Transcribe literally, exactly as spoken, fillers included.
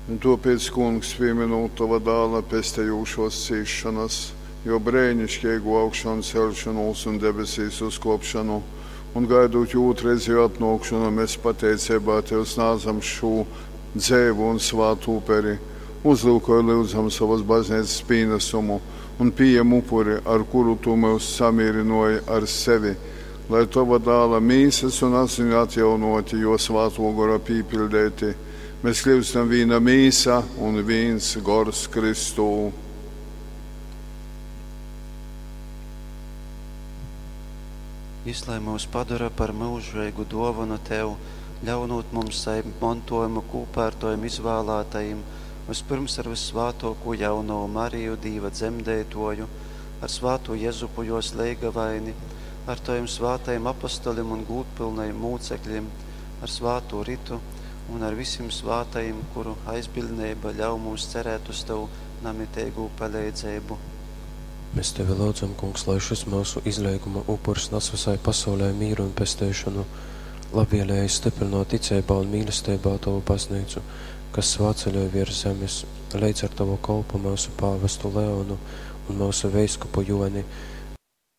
Un tōpēc, Kungs, pīmynūt tova Dāla pestejūšōs cīsšonas, jō breiniškeigū augšanceļšonūs un debesīs uzkōpšonu, un gaidūt jō ūtrreizeju atnōkšonu, mes pateiceibā tev snādzam šū dzeivu un svātu uperi. Uzlyukoj, lyudzam, sovas bazneicas pīnasumu un pījem upuri, ar kuru tu myus samīrynōji ar sevi, lai, tova Dāla mīsas un asiņu atjaunōti, jō Svātō Gora pīpiļdeiti, mes kļyustam vīna mīsa un vīns gors Kristū. Jys lai myus padora par myužeigu dōvonu tev, ļaunūt mums sajimt montōjumu kūpā ar tovim izvālātajim, vyspyrms ar vyssvātōkū jaunovu Mariju, Dīva dzemdeitōju, ar svātū Jezupu jōs leigavaini, ar tovim svātajim apostolim un gūdpylnajim mūceklim, ar svātū Ritu un ar visim svātajim, kuru aizbiļdneiba ļauj mums cerēt uz tovu namiteigū paleidzeibu. Mes tevi lyudzam, Kungs, lai šys myusu izleiguma upurs nas vysai pasaulei mīru un pesteišonu. Labvieleigi styprynōt ticeibā un mīlesteibā tovu bazneicu, kas svātceļoj viers zemes, leidz ar tovu kolpu, myusu pāvestu Leonu un myusu veiskupu Jōni,